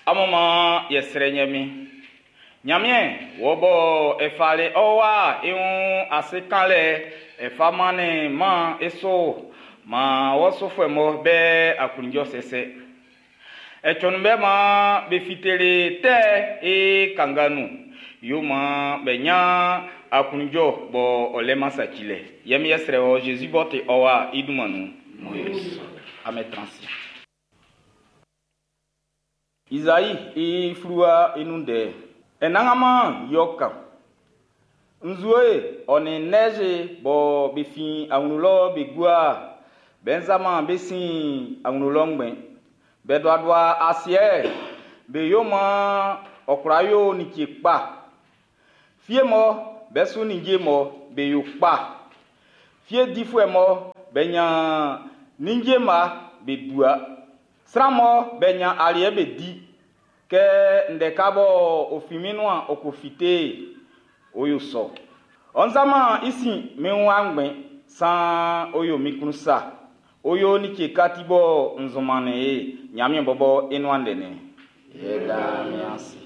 Amun maan yɛ srɛ Ɲanmiɛn. Ɲanmiɛn, wɔ bɔ e fali ɔ wa i wun ase kanlɛ e fa mannin maan e su maan wɔ sufuɛ mɔ be aklunjɔ sɛsɛ. E cɔnnin be maan be fiteli tɛ i kanga nun. Yo maan be ɲan aklunjɔ bɔ ɔ lɛ-man sacilɛ. Yɛ mi yɛ srɛ wɔ Jésus b'ɔ ti ɔ wa i dunman nun. Amen transi. Izai i fluwa i nun ndɛ. Anannganman yɛ ɔ kan. Nzue ɔ nin neige bɔ be fin awlo lɔ be gua, be nzanman be sin awlo lɔ ngbɛn. Be duadua asiɛ, be yo maan ɔ kwla yo like kpa. Fie mɔ be su ninnge mɔ be yo kpa. Fie difuɛ mɔ be ɲan ninnge ma be dua. Sran mɔ be ɲan aliɛ be di. Kɛ ndɛ ka bɔ o fin min nuan ɔ ko fite, o yo sɔ. Ɔ nzanman i sin min wa ngbɛn, san o yo min klun sa. O yo like kati bɔ nzunman e Ɲanmiɛn bɔbɔ i nuan ndɛ. Yɛ da mi ase.